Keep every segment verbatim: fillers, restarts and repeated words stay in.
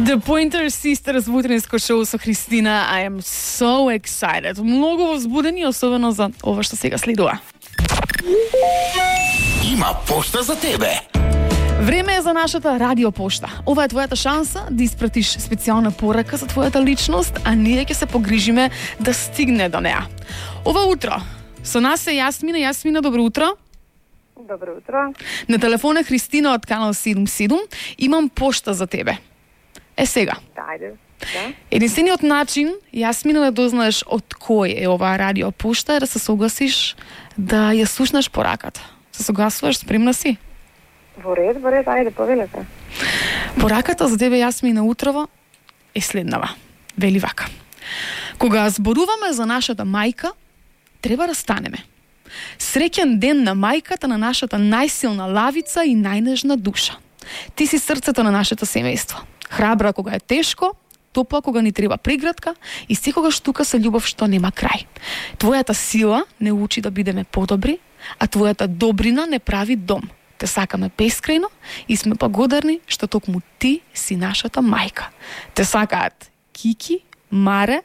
The Pointer Sisters во утренско шоу со Христина. I am so excited. Многу возбудени, особено за ова што сега следува. Има пошта за тебе. Време е за нашата радиопошта. Ова е твојата шанса да испратиш специјална порака за твојата личност, а ние ќе се погрижиме да стигне до неа. Ова утро со нас е Јасмина. Јасмина, добро утро. Добро утро. На телефон е Христина од канал седум седум. Имам пошта за тебе. Е сега. Ајде. Да. Единствениот начин, Јасмина, да дознаеш од кој е оваа радиопошта е да се согласиш да ја слушнеш пораката. Се согласуваш, спремна си? Во ред, во ред, ајде, повелете. Пораката за тебе, Јасмина, утрово е следнава. Вели вака. Кога зборуваме за нашата мајка, треба да станеме. Среќен ден на мајката на нашата најсилна лавица и најнежна душа. Ти си срцето на нашето семејство. Храбра кога е тешко, топла кога ни треба приградка и секогаш тука со љубов што нема крај. Твојата сила не учи да бидеме подобри, а твојата добрина не прави дом. Те сакаме бескрајно и сме благодарни што токму ти си нашата мајка. Те сакаат Кики, Маре,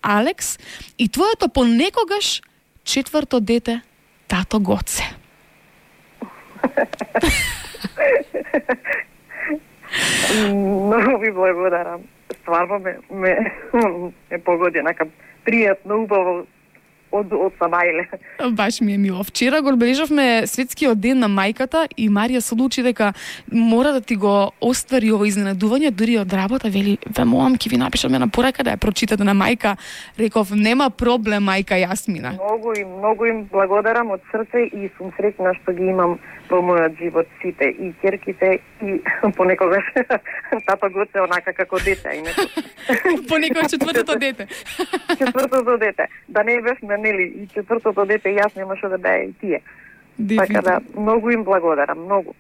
Алекс и твоето понекогаш четврто дете, тато Гоце. Многу ви благодарам. Стварно ме, ме, ме погоди нака пријатно, убаво од, од самајле. Баш ми е мило. Вчера го одбележавме светскиот ден на мајката и Марија се одлучи дека мора да ти го оствари ово изненадување, дури од работа, вели, ве молам, ќе ви напишам една порака да ја прочитате на мајка. Реков, нема проблем, мајка Јасмина. Многу им, многу им благодарам од срце и сум среќна што ги имам во мојот живот сите, и ќерките, и понекогаш тато Гоце онака како дете. Понекогаш четвртото дете. Четвртото дете. Да не бевме, нели, и четвртото дете, јас немаше да беа и тие. Дефинитивно. Така да, многу им благодарам, многу.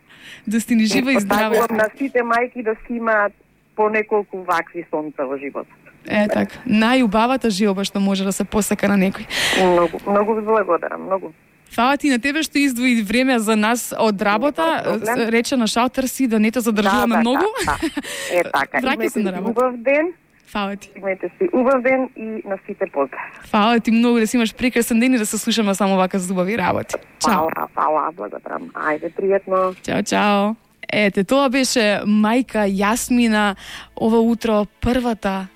Да сте ни жива и здраве. Посакувам на сите мајки да си имаат по неколку вакви сонца во животот. Е, така. Најубавата желба што може да се посака на некој. Многу, многу ви благодарам, многу. Фала ти на тебе што издвои време за нас од работа. Рече на шалтер си да не те задржуваме да, да, многу. Да, да. Е, така. Враќај се на работа. Убав ден. Фала ти. Имајте си убав ден и на сите поздрав. Фала ти многу, да си имаш прекрасен ден и да се слушаме само вака за убави работи. Чао. Фала, фала, благодарам. Ајде, пријатно. Чао, чао. Ете, тоа беше мајка Јасмина. Ова утро првата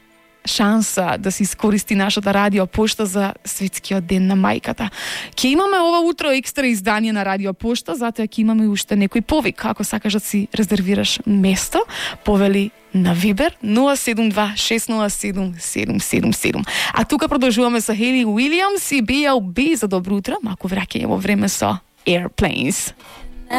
шанса да се искористи нашата радиопошта за светскиот ден на мајката. Ќе имаме ова утро екстра издание на радиопошта, затоа ќе имаме уште некој повик. Ако сакаш да си резервираш место, повели на Вибер нула седум два шест нула седум седум седум седум. А тука продолжуваме со Хели Уилијамс и Би Ел Би за добро утро, малку враќање во време со Airplanes.